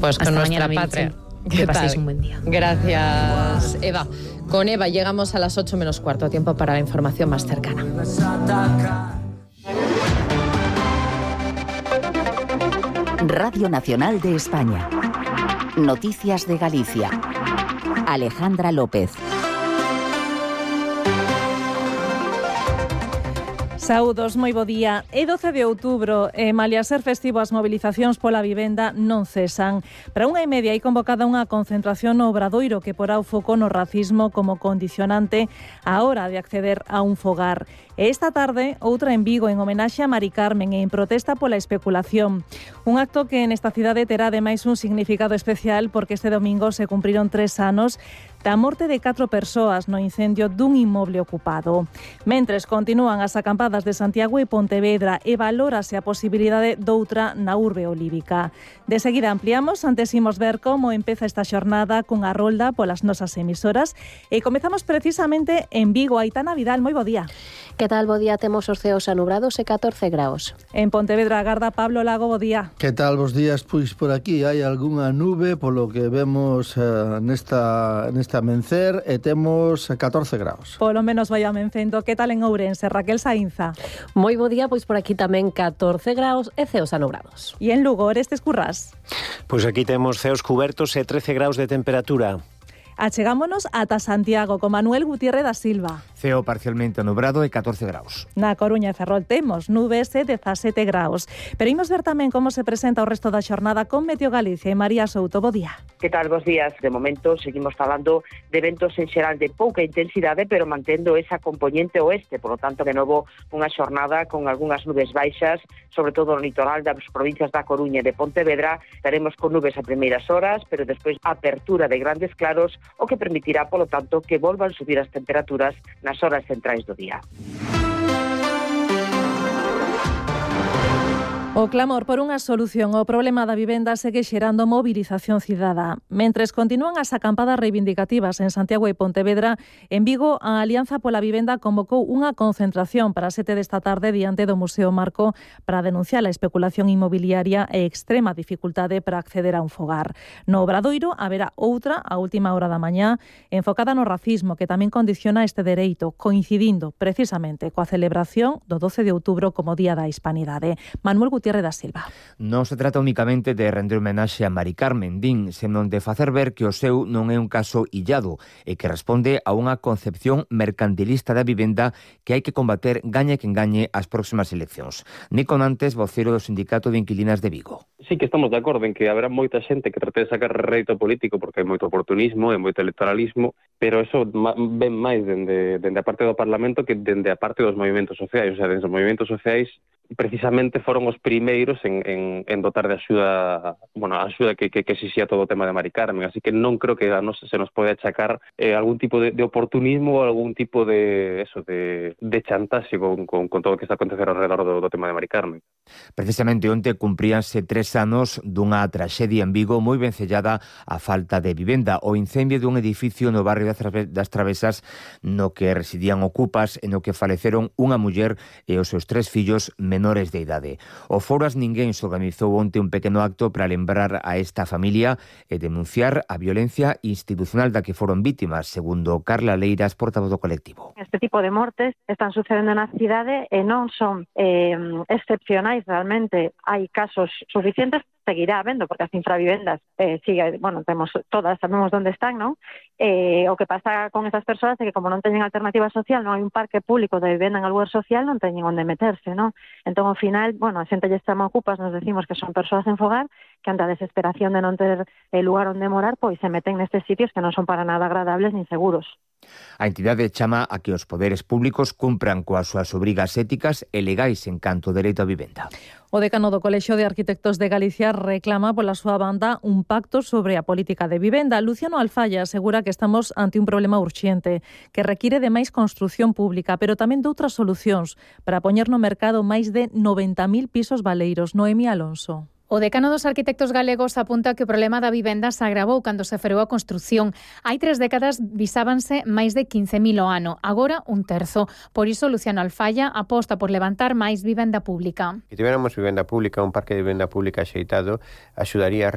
Pues con Hasta nuestra mañana, patria. Que paséis un buen día. Gracias, Eva. Con Eva llegamos a las 8 menos cuarto, tiempo para la información más cercana. Radio Nacional de España. Noticias de Galicia. Alejandra López. Saúdos, moi bo día. É 12 de outubro e, malia ser festivo, as mobilizacións pola vivenda non cesan. Para 1:30 hai convocada unha concentración no Obradoiro que porá o foco no racismo como condicionante á hora de acceder a un fogar. E esta tarde, outra en Vigo en homenaxe a Mari Carmen e en protesta pola especulación. Un acto que nesta cidade terá ademais un significado especial porque este domingo se cumpriron 3 anos da morte de 4 persoas no incendio dun inmoble ocupado. Mentres continúan as acampadas de Santiago e Pontevedra e valórase a posibilidade doutra na urbe olívica. De seguida ampliamos, antes imos ver como empeza esta xornada cunha rolda polas nosas emisoras e comezamos precisamente en Vigo. Aitana Vidal, moi bo día. Que tal, bo día? Temos os ceos anubrados e 14 graus. En Pontevedra agarda Pablo Lago, bo día. Que tal, bos días? Pois por aquí hai algunha nube polo que vemos nesta amencer e temos 14 graus. Polo menos vai amencendo. Que tal en Ourense, Raquel Saínza? Moi bo día, pois por aquí tamén 14 graus e ceos anubrados. E en Lugo, Orestes Currás? Pois aquí temos ceos cubertos e 13 graus de temperatura. Achegámonos ata Santiago con Manuel Gutiérrez da Silva. Ceo parcialmente nubrado e 14 graus. Na Coruña e Ferrol temos nubes e 17 graus. Pero imos ver tamén como se presenta o resto da xornada con Meteo Galicia e María Souto. Bo día. Que tal, bos días? De momento seguimos falando de ventos en xeral de pouca intensidade, pero mantendo esa componente oeste, por lo tanto, de novo, unha xornada con algunhas nubes baixas, sobre todo no litoral das provincias da Coruña e de Pontevedra. Estaremos con nubes a primeiras horas, pero despois apertura de grandes claros, o que permitirá, polo tanto, que volvan subir as temperaturas nas horas centrais do día. O clamor por unha solución ao problema da vivenda segue xerando mobilización cidadá. Mentres continúan as acampadas reivindicativas en Santiago e Pontevedra, en Vigo a Alianza pola Vivenda convocou unha concentración para as 7 desta tarde diante do Museo Marco para denunciar a especulación inmobiliaria e extrema dificultade para acceder a un fogar. No Obradoiro haberá outra a última hora da mañá enfocada no racismo que tamén condiciona este dereito, coincidindo precisamente coa celebración do 12 de outubro como Día da Hispanidade. Manuel Gutiérrez da Silva. Non se trata únicamente de render homenaxe a Mari Carmen, din, senón de facer ver que o seu non é un caso illado e que responde a unha concepción mercantilista da vivenda que hai que combater gañe quen gañe as próximas eleccións. Nico Nantes, vocero do Sindicato de Inquilinas de Vigo. Sí que estamos de acordo en que haberá moita xente que trate de sacar rédito político porque hai moito oportunismo e moito electoralismo, pero eso ven máis dende a parte do Parlamento que dende a parte dos movimentos sociais. O sea, dende os movimentos sociais precisamente foron os primeiros en dotar de axuda, bueno, a axuda que exixía todo o tema de Mari Carmen, así que non creo que se nos pode achacar algún tipo de oportunismo ou algún tipo de chantaxe con todo o que está a acontecer ao redor do tema de Mari Carmen. Precisamente onte cumpríanse 3 anos dunha traxedia en Vigo moi vencellada á falta de vivenda, o incendio dun edificio no barrio das Travesas no que residían ocupas e no que faleceron unha muller e os seus 3 fillos menores de idade. O Foro As Ninguéns organizou onte un pequeno acto para lembrar a esta familia e denunciar a violencia institucional da que foron vítimas, segundo Carla Leiras, portavoz do colectivo. Este tipo de mortes están sucedendo na cidade e non son excepcionais realmente. Hai casos suficientes, seguirá habendo, porque as infravivendas temos todas, sabemos onde están, non? O que pasa con esas persoas é que como non teñen alternativa social, non hai un parque público de vivenda en lugar social, non teñen onde meterse, non? Entón, ao final, a xente lle chama ocupas, nos decimos que son persoas en fogar, que ante a desesperación de non ter lugar onde morar, pois se meten nestes sitios que non son para nada agradables nin seguros. A entidade chama a que os poderes públicos cumpran coas súas obrigas éticas e legais en canto ao dereito á vivenda. O decano do Colexio de Arquitectos de Galicia reclama pola súa banda un pacto sobre a política de vivenda. Luciano Alfaya asegura que estamos ante un problema urxente que require de máis construción pública, pero tamén de outras solucións para poñer no mercado máis de 90.000 pisos baleiros. Noemi Alonso. O decano dos arquitectos galegos apunta que o problema da vivenda se agravou cando se freou a construción. Hai 3 décadas visábanse máis de 15.000 ao ano, agora un terzo. Por iso, Luciano Alfaya aposta por levantar máis vivenda pública. Se tiveramos vivenda pública, un parque de vivenda pública axeitado, axudaría a